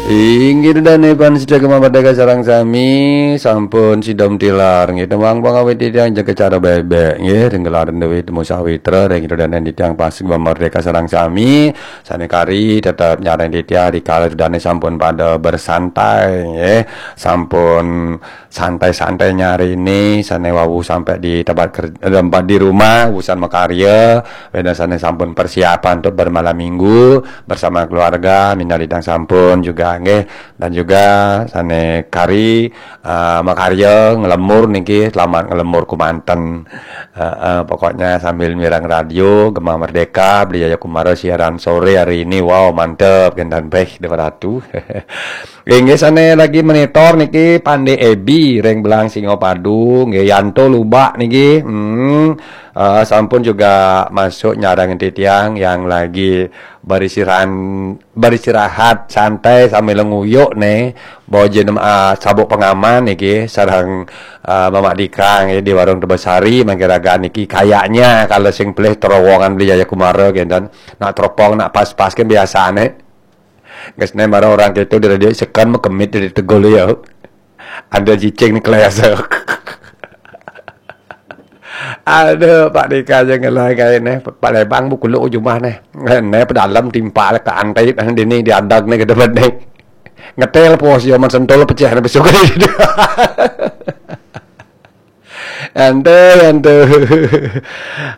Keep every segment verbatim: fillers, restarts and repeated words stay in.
Inggih, ida dané pamiarsa Gema Merdeka sareng sami, sampun sida tilar nggih. Tembang pangawit titiang jaga cara bebek nggih, ring gelaran Dewi Temu Sawitra, ring ida dané titiang pamiarsa Gema Merdeka sareng sami, sané kari tetep nyarengin titiang rikala ida dané sampun pada bersantai nggih. Sampun santai-santai nyarengin sané wau sampai di tempat kerja, tempat di rumah, usan makarya, wénten sané sampun persiapan untuk bermalam minggu bersama keluarga, minab titiang sampun juga nggih, dan juga sané kari, eh, makarya nglebur niki, selamat nglebur kémanten. Eh, eh, pokoknya sambil mireng radio Gema Merdeka, Beli Jaya Kumara siaran sore hari ini, wow mantep, kénten béh, Dewa Ratu. Inggih sané lagi monitor niki Pandé Ebi ring Belang Singapadu, nggih Yanto Lubak niki. Hmm, eh, sampun juga masuk nyarengin titiang yang lagi beristirahat, beristirahat santai sambil nguyuk né. Bojen, eh, sabuk pengaman niki sareng, eh, Mamak Dika nggih di warung Tebesari mangkin raga niki kayaknya kalau sing pelih terowongan Beli Jaya Kumara kénten. Nak teropong, nak pas-pas kan biasané. Geus né marang orang kéto di radio seken mekemit di tegul ya. Ada cicing nih kelas. Aduh, Pak Dika aja ngelai kayak nih. Pak Lebang bu kuluk jumah nih. Nih pedalem timpa ke antai dini diadag nih ke depan nih. Ngetel pos yo man sentul pecah nih besok. Ente, ente.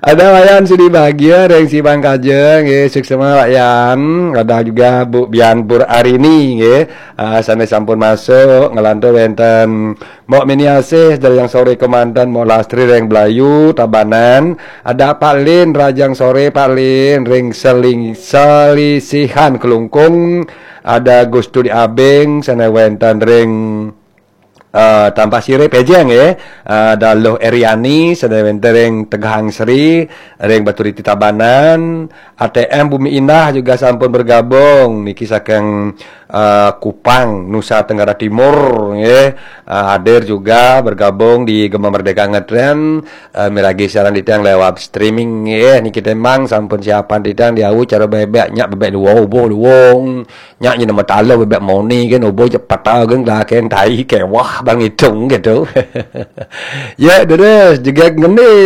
Ada Wayan Sudi Bagia ring Sibang Kajeng nggih, suksma Wayan. Ada juga Bu Bian Pur Arini nggih. Ah, sané sampun masuk, nglantur wénten Mbok Mini Asih dari yang sore kémanten, Mbok Lastri ring Belayu Tabanan. Ada Pak Lin, rajang sore Pak Lin ring Seling Selisihan Kelungkung. Ada Gustu di Abing sané wénten ring eh, Tampasirih Pejeng nggih. Eh, ada Luh Eriani sané wénten ring Tegahang Sri, ring Baturiti Tabanan, A T M Bumi Indah juga sampun bergabung niki saking, eh, Kupang, Nusa Tenggara Timur nggih. Eh, hadir juga bergabung di Gema Merdeka Ngetren, eh, miragi siaran titiang lewat streaming nggih. Niki tembang sampun siapan titiang diau cara bebek nyak bebek luwung, ubuh luwung. Nyak nyina matala bebek moni kan, ubuh cepata kan, laken tai kewah bang hitung gitu. Ya, terus juga ngendi.